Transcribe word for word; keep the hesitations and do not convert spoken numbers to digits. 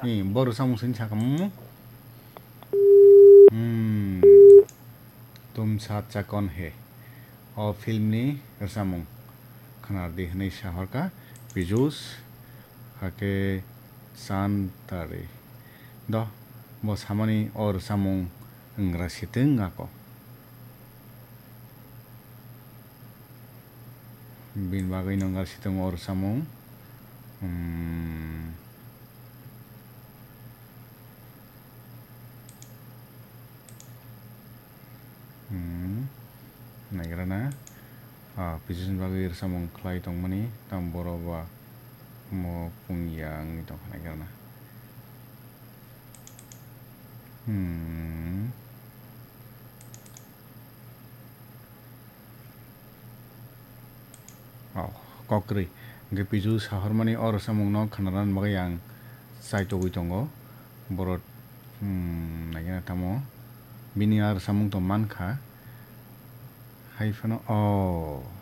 Ni, bo rwchapmung sini sakha mung. Hmm. Tum saath cha kaun hai. O film ni rwchapmung. Khwnardi hwnwi sahorkha Piyush, hakhe Chand Tare. Do, bo samani o rwchapmung wngra sitwng ako. Bini bagwi no wngra sitwng o rwchapmung. Hmm. Hmm. Naigra na. Ah, Piyush ni bagwi rwchapmung khlai tongmani, tamo borok ba omo pungya wngwi tongkha naigra na. Hmm. Oh, kok kwrwi. Hwnkhe Piyush sahormani o rwchapmungno khwnarani bagwi ang chaitogwi tongo. Borok, hmm, naikhe tamo. Bini a rwchapmung tong mankha. Hai phano, oh.